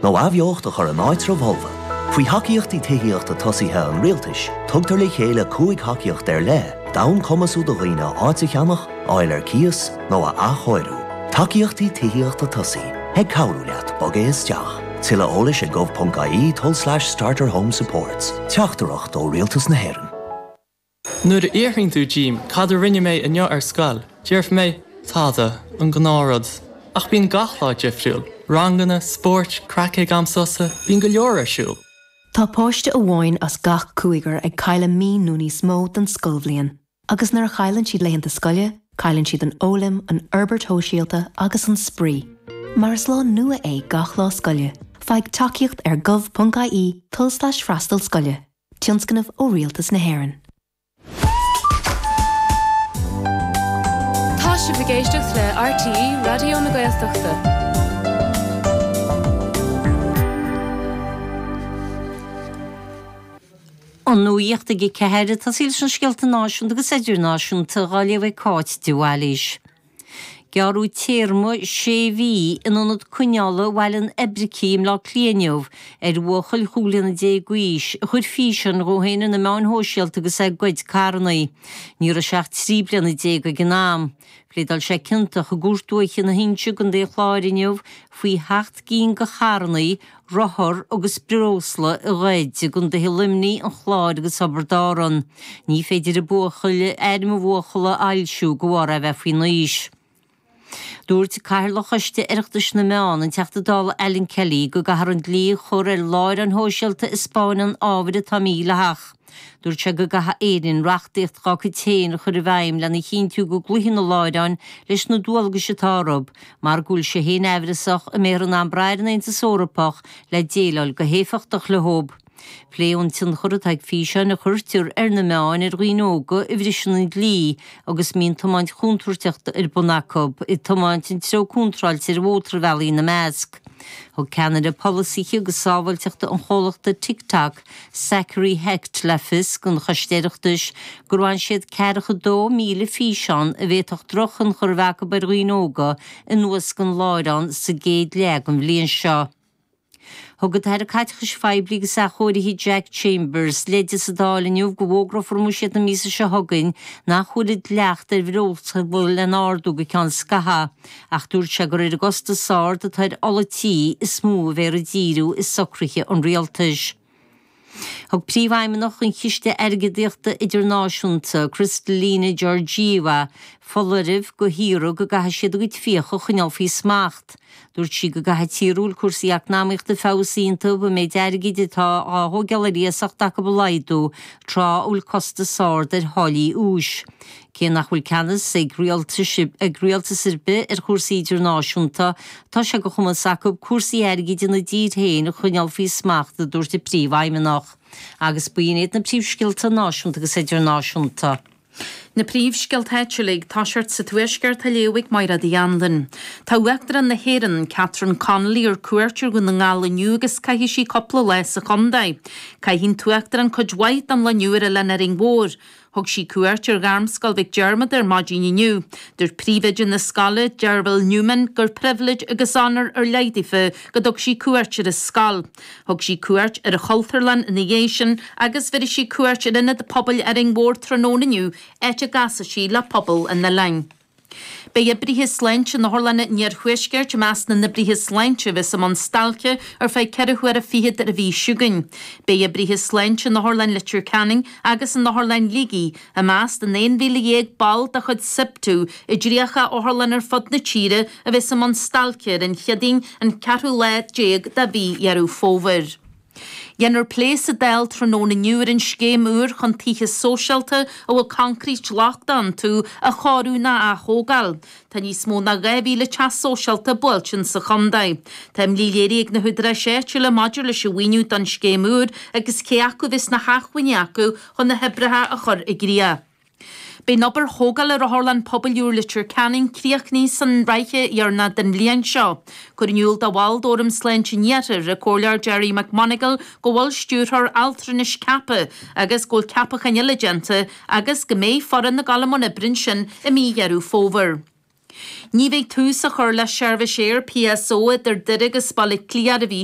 Nó athbheocht a chur in áitreabh fholmha. Faoi Thacaíochtaí Tithíochta Tosaithe an Rialtais, tugtar le chéile 5 thacaíocht ar leith d'fhonn cumasú do dhaoine áit a cheannach, a fháil ar cíos nó a athchóiriú. Tacaíochtaí Tithíochta Tosaithe, ag cabhrú leat bogadh isteach. Tuilleadh eolais ag gov.ie tulslais starterhomesupports. Teachtaireacht ó Rialtas na hÉireann. Nuair a fhiafraíonn tú díom cad a rinne mé inniu ar scoil, déarfaidh mé, tada, an gnáthrud. Ach bíonn gach lá difriúil, ranganna, spóirt, craic ag am sosa, bíonn go leor ar siúl. Tá páiste amháin as gach cúigear ag cailleadh mí nó níos mó den scoilbhliain. Agus nuair a chailleann siad laethanta scoile, cailleann siad an fhoghlaim, an fhorbairt shóisialta agus an spraoi. Mar is lá nua é gach lá scoile, faigh tacaíocht ar gov.ie tulslais freastal scoile. Tionscnamh ó Rialtas na hÉireann. Tá sibh ag éisteacht le RTÉ Raidió na Gaeltachta. An nuacht ag 4, ag tosaí leis na scéalta náisiúnta agus idirnáisiúnta dhá léamh ag Cáit de Bhailís. Gearradh téarma sé mhí in ionad coinneála Bhaile an Oibricigh i mBleá Cliath inniu ar bhuachaill 15 bliana d'aois a chuir físeán dhó féin ar na meáin shóisialta agus é ag goid carranna. Ní raibh sé ach 13 bliana ag an am. Phléadáil sé ciontach i gCúirt Dúiche na hInse i gContae an Chláir inniu faoi sheacht gcinn de charranna, rothar agus breosla a ghoid i gcontaetha Luimnigh, an Chláir agus Thiobraid Árann. Ní féidir an buachaill, ainm an bhuachalla a fhoilsiú de bharr é a bheith faoin aois. Dúirt Cathaoirleach Choiste Oireachtais na Meán, an Teachta Dála Alan Kelly, go gcaithfear an dlí a chur ar láithreáin shóisialta a 'spáineann ábhair atá mídhleathach. Dúirt sé go gcaithfidh Éirinn reachtaíocht dá cuid féin a chur i bhfeidhm lena chinntiú go gcloífidh na láithreáin leis na dualgais atá orthu, mar go bhfuil sé féin aimhreasach an mbeifear in ann brath ar an Aontas Eorpach le déileáil go héifeachtach leo. Pléadh an tionchar atá ag físeáin a chuirtear ar na meáin ar dhaoine óga a bhriseann an dlí agus a mbíonn tiomáint chontúirteach ar bun acu, ag tiomáint an treo contráilte ar mhótarbhealaí ina measc. Thug ceannaire polasaithe agus sábháilteachta an chomhlachta TikTok, Zachary Hecht le fios don Choiste Oireachtais gur bhain siad 42,000 físeán a bhféadfadh drochthionchar a bheith acu ar dhaoine óga anuas den láithreán sa gcéad leath den bhliain seo. Thug an tAire Caiteachais Phoiblí agus Athchóirithe Jack Chambers leide sa Dáil inniu go bhfógrófar i mbuiséad na míosa seo chugainn nach bhfuil an dleacht ar bhreosla lena ardú go ceann scaithimh ach dúirt sé gur ar an gcostas ard atá ar ola tí is mó a bheifear ag díriú i socruithe an rialtais. Thug Príomhfheidhmeannach an Chiste Airgeadaíochta Idirnáisiúnta, Kristalina Georgieva, foláireamh do thíortha go gcaithfidh siad a gcuid fiacha a choinneáil faoi smacht. Dúirt sí go gcaithfidh tíortha a bhfuil cúrsaí eacnamaíochta feabhsaithe iontu an méid airgid atá á thógáil ar iasacht acu a laghdú tráth a bhfuil costas ard ar tháillí úis. Cé nach bhfuil ceannas ag rialtais ag rialtas ar bith ar chúrsaí idirnáisiúnta, tá sé de chumas acu cúrsaí airgid ina dtír féin a choinneáil faoi smacht, a dúirt an Príomhfheidhmeannach. Agus b'in iad na príomhscéalta náisiúnta agus idirnáisiúnta. Na príomhscéalta áitiúla ag toiseacht sa Tuaisceart á léamh ag Mairéad Uí Anluain. Tá Uachtarán na hÉireann, Catherine Connolly ar cuairt ar Dhún na nGall inniu agus caithfidh sí cúpla lá sa chontae. Caithfidh an tUachtarán cuid mhaith den lá inniu ar Oileán Árainn Mhór. Thug sí cuairt ar Ghairmscoil Mhic Diarmada ar maidin inniu. Dúirt príomhoide na scoile, Derville Newman, gur pribhléid agus onóir ar leith daofa go dtug sí cuairt ar an scoil. Thug sí cuairt ar an Chultúrlann ina dhiaidh sin agus bhéarfaidh sí cuairt ar Ionad Pobail Árainn Mhór tráthnóna inniu, áit a gcasfaidh sí le pobal an oileáin. Beidh oibrithe sláinte in otharlanna an iarthuaiscirt i measc na n-oibrithe sláinte a bheas i mbun stailce ar feadh ceithre huaire fichead ar an mhí seo chugainn. Beidh oibrithe sláinte in Otharlann Leitir Ceanainn agus in Otharlann Shligigh i measc den 11,000 ball de chuid Siptu i dtríocha otharlann ar fud na tíre a bheas i mbun stailce ar an Chéadaoin an ceathrú lá déag de mhí Dheireadh Fómhair. Déanfar plé sa Dáil tráthnóna inniu ar an scéim úr chun tithe sóisialta a bhfuil coincréit lochtach iontu a chóiriú nó a ath-thógáil. Tá níos mó ná 2,000 teach sóisialta buailte sa chontae. Tá imní léirithe ag na húdaráis áitiúla maidir leis an mhaoiniú don scéim úr agus cé acu a bheas na hacmhainní acu chun na hoibreacha a chur i gcrích. Beidh an obair thógála ar Otharlann Pobail úr Leitir Ceanainn críochnaithe san ráithe dheireanach den bhliain seo. Cuireadh in iúl do bhall d'Fhóram Sláinte an Iarthair, an Comhairleoir Gerry McMonagall, go bhfuil stiúrthóir altranais ceaptha agus go bhfuil ceapacháin eile déanta agus go mbeidh foireann ag dul i mbun oibre ansin i mí Dheireadh Fómhair. Ní bheidh tús á chur le seirbhís aeir PSO idir Doire agus Baile Átha Cliath ar an mhí.